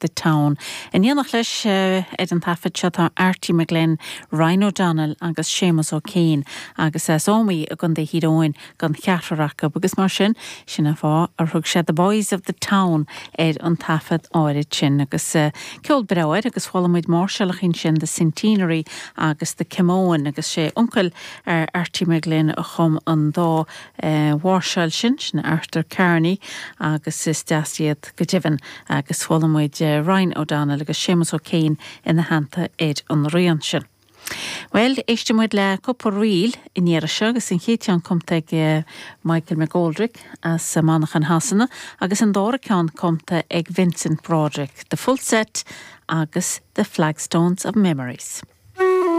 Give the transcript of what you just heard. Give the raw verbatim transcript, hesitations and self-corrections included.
the Town. In éineacht leis ar an taifead seo tá Arty McGlynn, Ryan O'Donnell agus Seamus O'Kane agus as Ómaigh i gContae Thír Eoghain don cheathrar acu agus mar sin sin an fáth ar thug sé The Boys of the Town ar an taifead áirid sin agus uh, ceol breá agus chuala muid máirseálacha sin the Centenary agus the Camoin agus sé uncail ar Arty McGlynn a chum an dá uh, mháirseáil sin sin Arthur Carney agus is deas iad go deimhin agus chuala muid uh, Ryan O'Donnell agus Seamus O'Kane ina theannta ar an rian sin. Well, éistfidh muid le cúpla ríl in seo agus an chéad cheann cumtha ag eh, Michael McGoldrick as Manchain Shasana agus an dara ceann cumtha ag Vincent Broderick, The Full Set agus The Flagstones of Memories.